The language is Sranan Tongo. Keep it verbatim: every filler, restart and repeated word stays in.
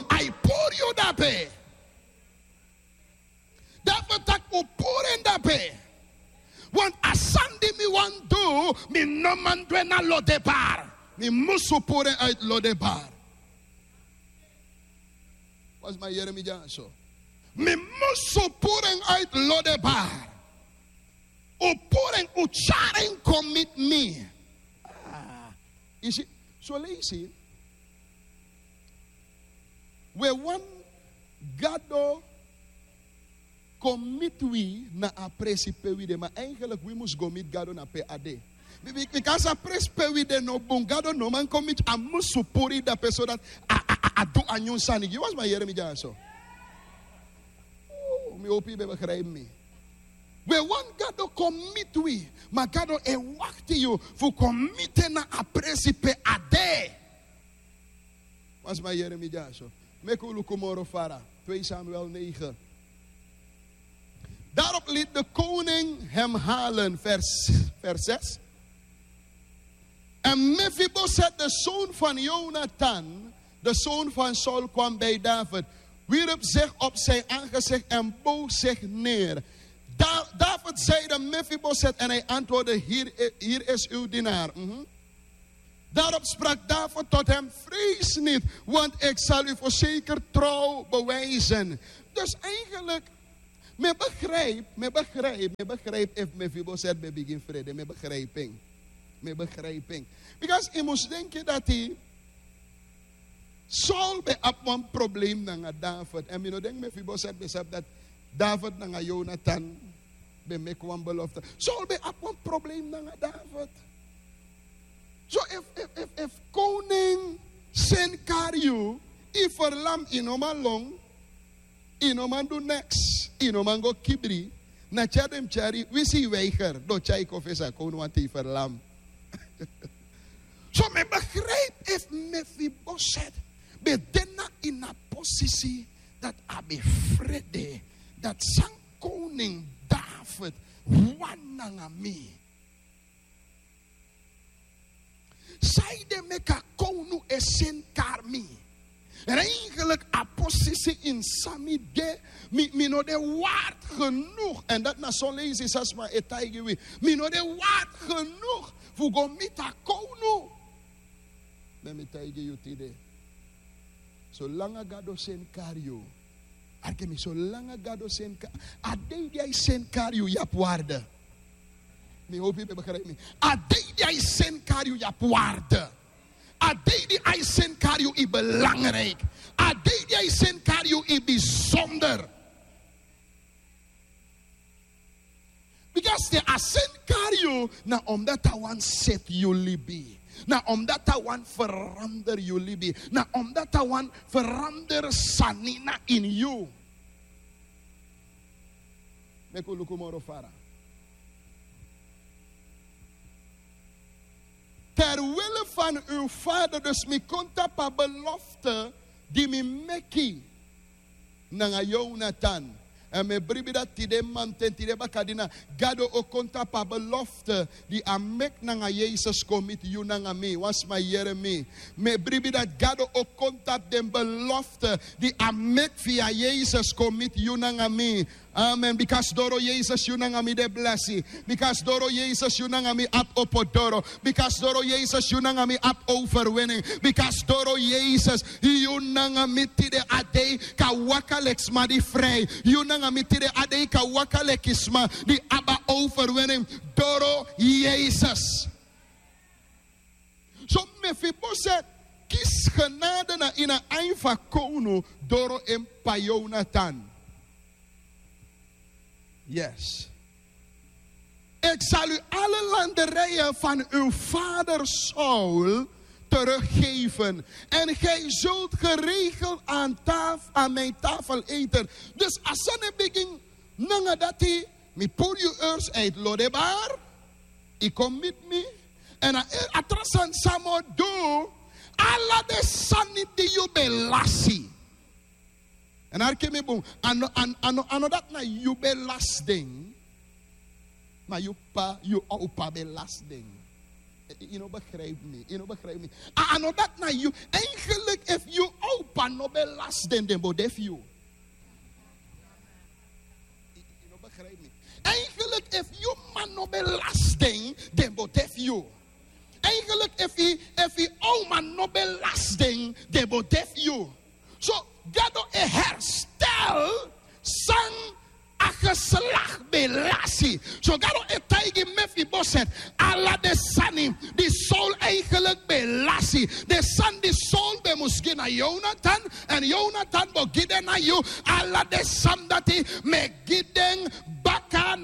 A e puru yu dape. David taki un puru en dape. Want a sani di mi wani du, mi no man du en na Lodebar. Mi musu puru en uit Lodebar. Wan sma yere mi dyaso. Mi musu puru en uit Lodebar. Un puru en, un tyari en kon miti mi. Ah, yu si, son leisi un e wani Gado kon miti wi na a presi pe wi de, ma eigenlijk wi mus go miti Gado na pe a de. Bi- bi- bikasi a presi pe wi de no bun, Gado no man kon miti, a musu puru yu dape so dati a, a, a, a du a nyun sani gi wan sma yere mi dyaso. Oh, mi hopi yu ben begrijp mi. We wan Gado kon miti wi, ma Gado e wakti yu fu kon miti en na a presi pe a de. Wan sma yere mi dyaso. Meki un luku moro fara. Twee Samuel negen. Daarop liet de koning hem halen, vers, vers zes. En Mefiboset, de zoon van Jonathan, de zoon van Saul, kwam bij David, wierp zich op zijn aangezicht en boog zich neer. Da- David zeide: "Mefiboset." En hij antwoordde: "Hier, hier is uw dienaar." Mhm. Daarop sprak David tot hem: "Vrees niet, want ik zal u voorzeker trouw bewijzen." Dus eigenlijk, mi e begrijp, mi e begrijp, mi e begrijp efu Mefiboset ben bigin frede, mi e begrijp en. Mi e begrijp en. Because yu mus denki dati Saul ben abi wan probleem nanga David. En mi no denki Mefiboset ben sabi dati David nanga Jonathan ben meki wan belofte. Saul ben abi wan probleem nanga David. So efu, efu, efu, efu koning seni kari yu, yu ferlam, yu no man lon, yu no man du neks, yu no man go kibri. Na tyari den mus tyari, winsi yu weiger, den o tyari yu kon fesi a kownu wanten yu ferlam. So mi e begrijp efu Mefiboset ben de na ini a posisi dati a ben frede dati san koning David wani nanga mi. Sanede meki a kownu e seni kari mi? Eigenlijk a posisi ini san mi de, mi, mi no de waard genoeg. En dati na son leisi san sma e taigi wi. Mi no de waard genoeg fu go miti a kownu. Ma mi e taigi yu tide. Solanga Gado seni kari yu, arki mi, solanga Gado seni ka-, a dei di a e seni kari yu, yu abi waarde. Mi hopi yu ben begrijp mi. A dei di a e seni kari yu, yu abi waarde. A dei di a e seni kari yu, yu belangrijk. A dei di a e seni kari yu, yu bijzonder. Because te a seni kari yu, na omdat a wani seti yu libi. Na omdat a wani verander yu libi. Na omdat a wani verander sani na ini yu. Meki un luku moro fara. Ter wille van uw vader, dus mi kon tapu a belofte di mi meki nanga Jonathan. En mi e bribi dati tide manten, tide bakadina, Gado o kon tapu a belofte di a meki nanga Yesus kon miti yu nanga mi. Wan sma yere mi. Mi e bribi dati Gado o kon tapu den belofte di a meki via Yesus kon miti yu nanga mi. Amen. Because doro Yesus yu nanga mi de blesi. Because doro Yesus yu nanga mi abi opo doro. Because doro Yesus yu nanga mi abi overwinning. Because doro Yesus yu nanga mi tide a dei kan waka leki sma di fri. Yu nanga mi tide a dei kan waka leki sma di abi a overwinning. Doro Yesus. So Mefiboset kisi genade na ini a ain fu a kownu doro en p'pa Jonathan. Yes. Ik zal u alle landerijen van uw vader Saul teruggeven. En gij zult geregeld aan, taf, aan mijn tafel eten. Dus a sani e bigin nanga dati, mi puru yu eerst uit Lodebar, yu kon miti mi. En a, a tra sani san mi o du, ala den sani di yu ben lasi. En arki mi bun, a no, a no, a no, a no dati na yu ben lasi den, ma yu p'pa, yu opa ben lasi den. Yu no begrijp mi, yu no begrijp mi. A no dati na yu. Eigenlijk efu yu owpa no ben lasi den, den bo de fu yu. Yu no begrijp mi. Eigenlijk efu yu man no ben lasi den, den bo de fu yu. Eigenlijk efu yu, efu yu owma no ben lasi den, den bo de fu yu. So Gado e herstel san a geslacht ben lasi. So Gado e taigi Mefiboset, ala den sani di Saul eigenlijk ben lasi, den sani di Saul ben mus gi na Jonathan, èn Jonathan bo gi den na yu, ala den sani dati mi e gi den